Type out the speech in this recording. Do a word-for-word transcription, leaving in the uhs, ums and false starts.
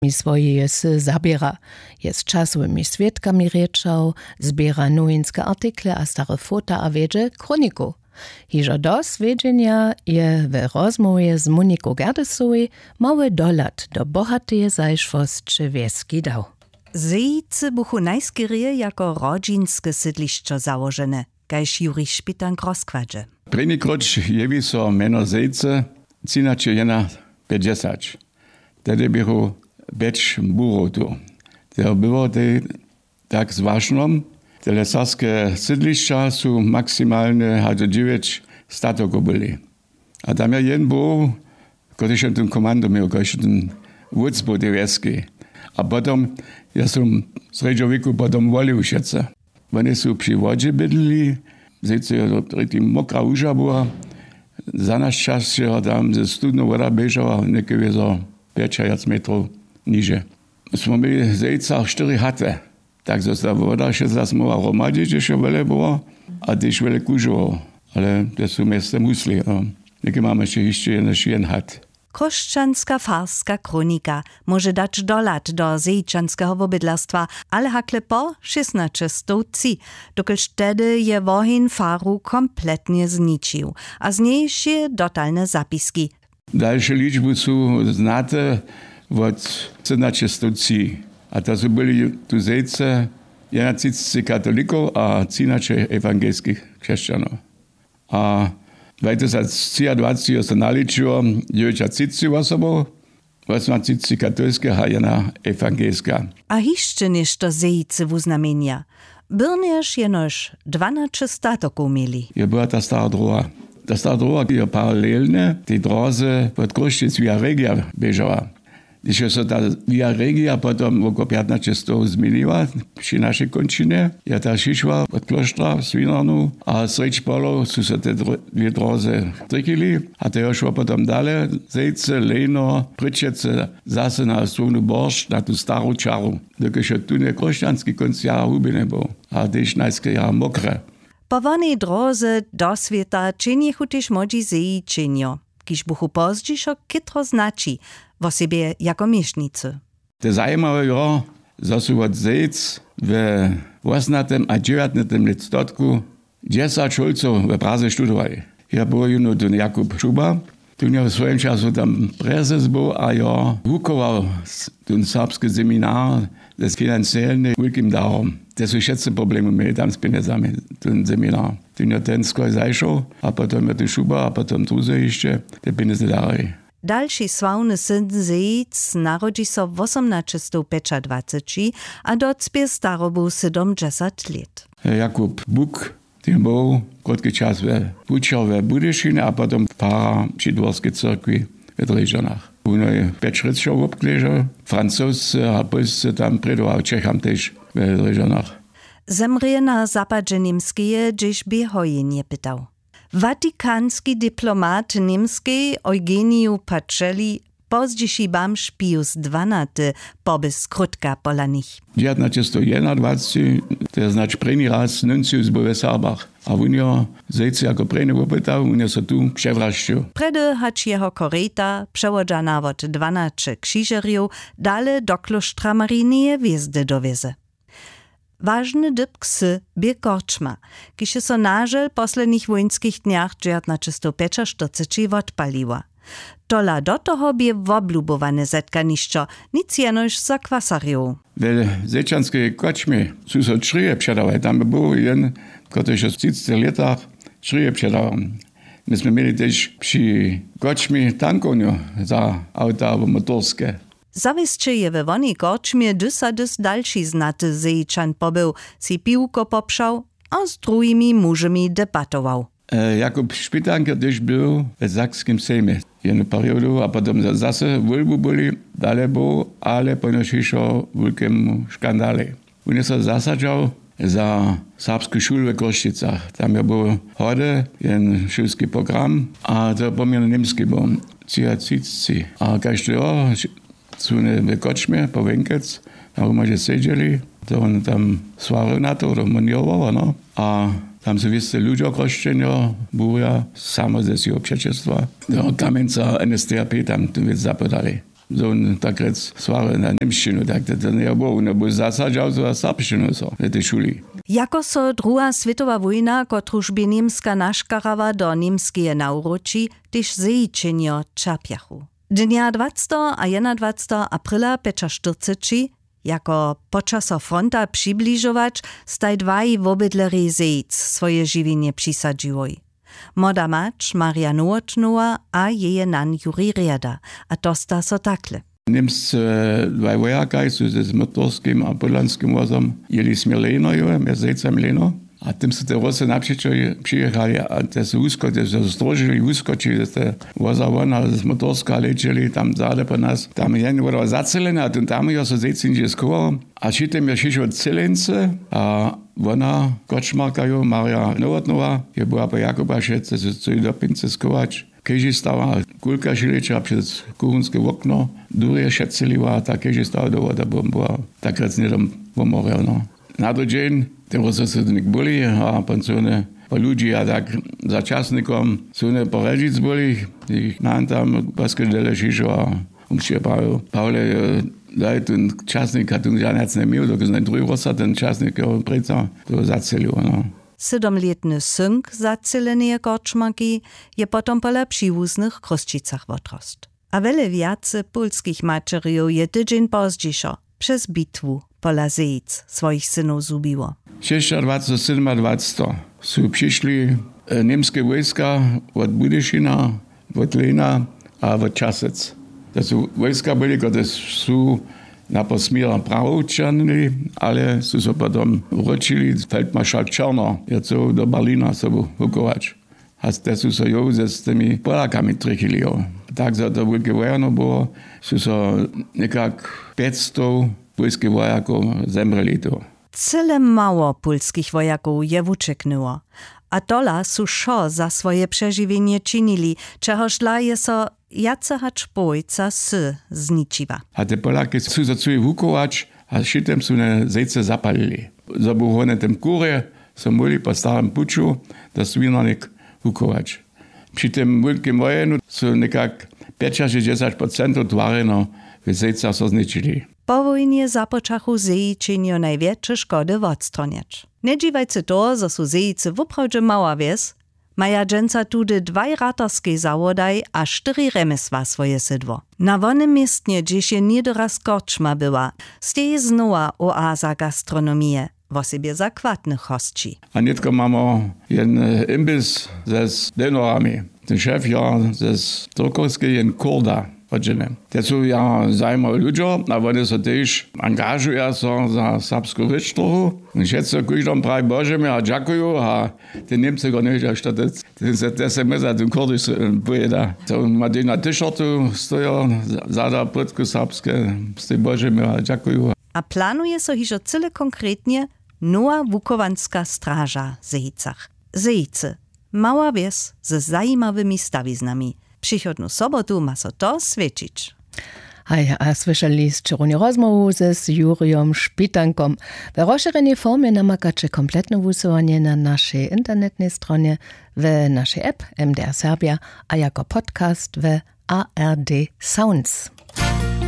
mi swojeje wsy zaběra, je z časowymi swědkami rěčał, zběra nowinske artikle a stare fota a wjedźe chroniku. Hižo do swjedźenja je we rozmołwje z Moniku Gerdesowej mały dohlad do bohateje zašłosće wjeski dał. Zejcy buchu najskerje jako rodźinske sydlišćo załožene, kaž Jurij Špitank rozkładźe. Prěni króć jewi so mjeno Zejcy třinaće jedna pjećdźesać. Tehdy běchu pjeć burow tu. To było tej tak z wašnom. Tele serbske sydlišća su maksimalnje hač do dźewjeć statokow byli. A tam je jen był, kotryž je ten komando měł, kotryž je ten wódz był tej wjeski. A potom ja sam w srjedźowěku potom wolił wšetcy. Woni su při wodźe bydlili, zejce je to prědkim mokra łuža była, za naš čas je tam ze studnu woda běžała něke wězo pjećawjac metrow niže. Smy měli zejca štyri haty. Tak zo ta woda wšetca smoła hromadźe, hdźež je wjele było, a tež wjele kužował. Ale te su mjeztym husli, no. Něke mamy hišće hišće jen hat. Chróšćanska farska chronika móže dać dohlad do zejčanskeho wobydlerstwa, ale hakle po šěstnaće stow tři, dokelž tehdy je woheń faru kompletnje zničił, a z njej wšě dotalne zapiski. Dalše ličby su znate wot sydomnaće stow tři. A to su byli tu zejce jedenatřicci katolikow a třinaće ewangelskich křesćanow. A dwajtysactřiadwaceći jo so naličiło dźewjećatřicci wosobow, wosomatřicci katolskich a jedna ewangelska. A hišće něšto zejcy wuznamjenja. Byrnjež jenož dwanaće statokow měli. Je była ta stara droha. Ta stara droha je paralelnje tej dróze wot Chrósćic via Regia běžała. Hdyž je so ta via Regia potom wokoło pjatnaće stow změniła při našej kónčinje, je ta šišła wot klóštra w Swinarnu a srjedź polow su so te dro-, dwě dróze trikili a to je šło potom dale zejce, lejno, prěčece, zase na słownu boršć na tu staru čaru. Dokelž je tón chróšćanski kónc jara hubjeny był a tež najskerje jara mokre. Po wonej dróze do swěta činjechu tež młodźi zeji činjo, kiž buchu pozdźišo chětro znaći, wosebje jako měšnicy. To zajimawe jo, zo su wot zejc we wosomnatym a dźewjatnatym lětstotku dźesać hólcow we Praze študowali. Ja był jónu tón Jakub Šuba, tón jo w swojim času tam prezes był a jo wuchował s-, tón serbski seminar ze financielnje wulkim darom. Te su wšetcy problemy měli tam z pjenjezami, tón seminar. Tón jo ten skór zašoł a potom jo tón Šuba a potom druzy hišće te pjenjezy darali. Dalši sławny syn zejc narodźi so wosomnaće stow pjećadwaceći a docpě starobu sydomdźesat lět. Jakub Buk, ten był krótki čas we wučer we Budyšinje a potom farar při dworskej cyrkwi we Drježdźanach. Wón je pjeć rěčow wobknježał, Francozce a Pólsce tam prědował, Čecham tež we Drježdźanach. Zemrě na zapadźe Němskeje, hdźež bě hojenje pytał. Vatikanski diplomat Němskej Eugeniju Pacelli, pozdźiši bamž Pius dwanaty, poby skrótka pola nich. Dźewjatnaće stow jedenadwaceći, to je znač prěni raz nuncius był we Serbach. A wón jo zejcy jako prěny wopytał, wón jo so tu přewrašćił. Prjedy hač jeho korejta, přewodźana wot dwanaće křižerjow, dale do klóštra Marineje hwězdy dowjeze. Wažny dypk wsy bě korčma, kiž je so na žel w poslednich wójnskich dnjach dźewjatnaće stow pjećaštyrceći wotpaliła. Tola do toho bě woblubowane zetkanišćo, nic jenož za kwasarjow. We zečanskej kočmje su so črěje předawali, tam by był jen, kotryž je w třiceći lětach črěje předawał. My smy měli tež při kočmje tankownju za awta abo motorske. Zawěsće je we wonej korčmje dys a dys dalši znaty zejčan pobył, sej piwko popřał a z druhimi mužemi debatował. E, Jakub Špitank je tež był w Sakskim sejmje jednu periodu a potom za-, zase wólbu byli, dale był, ale ponož hišo wulkemu škandalej. Wón je so zasadźał za serbsku šulu w Chrósćicach. Tam je był hody jen šulski program a to je poměrnje němski był, třiatřicci. A kaž to jo, su wone w kočmje po wjenkec na hromadźe sedźeli, to wón tam swarjoł na to, to monirował, no. A tam su wěsty ludźo chrósćenjo, burja, samo ze swěho přećelstwa, do Kamjenca N S D A P tam tu wěc zapodali. zo wón tak rjec swary na němšćinu, tak to to njeje było, wón je był zasadźał za serbšćinu so w tej šuli. Jako so druha swětowa wójna, kotruž bě Němska naškarała do Němskeje nawróći, tež zejićenjo ćerpjachu. Dnja dwacteho a jedynadwacteho aprila pjećaštyrceći, jako počaso fronta přibližować, staj dwaj wobydlerjej zejic swoje žiwjenje přisadźiłoj. Młoda mać Marja Nowotnowa a jeje nan Juri Rjeda, a to sta so takle. Němscy dwaj wojakaj su z Motorskim a Podlanskim wozom jěli směr Lejnoju, mjez Zejcami Lejno. A tym su te Rusy napřećo přijěchali a te su wusko-, te su zdróžili, wuskočili z te woza won a z Motorska lećeli tam zady po nas. Tam jen woda zaceleny a tym tam jo so Zejc hižo schował. A při tym jo přišło Cyleńcy a wona, Kočmarka jo, Marja Nowotnowa, je była po Jakuba wšetcy su chcyli do pincy schować. Kež stała kulka šileča přez kuchunske wokno, durje šeceliła, tak kež stała do wody bombowa, tak rjec hnydom womorjeno. Na to dźeń, te Rusy su nik byli a pon su wone po ludźi a tak za časnikom su wone po Hrjedźic byli, jich nan tam paske dele šišo a wón při je prawił: Pawle, daj ten časnik, a tón žanjac njeměł, dokelž naj druhi Rusa ten časnik jo prěca to zacelił, no. Sydomlětny synk zaceleneje Korčmarki je potom pola přiwuznych Chrósćicach wotrostł. A wjele wjace pólskich maćerjow je tydźeń pozdźišo přez bitwu pola Zejic swojich synow zhubiło. Šěsćadwaceho, sydomadwaceho su přišli, e, němske wójska wot Budyšina, wot Lejna a wot Časec. To su wójska byli, kotrež su napoł směra Prahow ćehnili, ale su so potom wróćili. Feldmaršalk Černo je chcył do Berlina sobu wuchować. A te su so jow z tymi Polakami trjechili, jo. Tak zo to wulke wojano było, su so někak pjećstow pólskich wojakow zemrěli tu. Cyle mało pólskich wojakow je wućeknyło. A tola su wšo za swoje přežiwjenje činili, čehoždla je so wjace hač połojca wsy zničiła. A te Polaki su so chcyli wuchować a při tym su wone Zejce zapalili. Zo bu wone w tym kurje so móhli po starym puću do Swinarnik wuchować. Při tym wulkim wojenju su někak pjećašěsćdźesać procentow twarjenow w Zejcach so zničili. Po wójnje započachu Zejićenjo najwjetše škody wotstronjeć. Njedźiwajcy toho, zo su Zejicy woprawdźe mała wjes, maja dźensa tudy dwaj ratarskej zawodaj a štyri rjemjesła swoje sydło. Na wonym městnje, hdźež je něhdy raz korčma była, steji znowa oaza gastronomije, wosebje za chwatnych hosći. A nětko mamy jen, e, imbis ze, z denorami. Ten šef jo ze Turkowskej, jen Kurda, hodźeny. Te su ja zajimawi ludźo a wone so tež angažuja so za serbsku rěč trochu. Wšetcy kóždom prawi: Bože, my a dźakuju, a te Němcy go njewědźa, što te, te, te, te se my za tym Kurdy s-, pojeda. To ma tež na t-shirtu stojo, za-, zada płótku serbske, stej: Bože, my a dźakuju. A planuje so hižo cyle konkretnje nowa wuchowanska straža w Zejcach. Zejicy, mała wjes ze zajimawymi stawiznami. Přichodnu sobotu ma so to swjećić. Haj, a słyšeli sće runje rozmołwu z Jurijom Špitankom. We rozšěrjenej formje namakaće kompletne wusyłanje na našej internetnej stronje, we našej app M D R Serbja a jako podcast we A R D Sounds.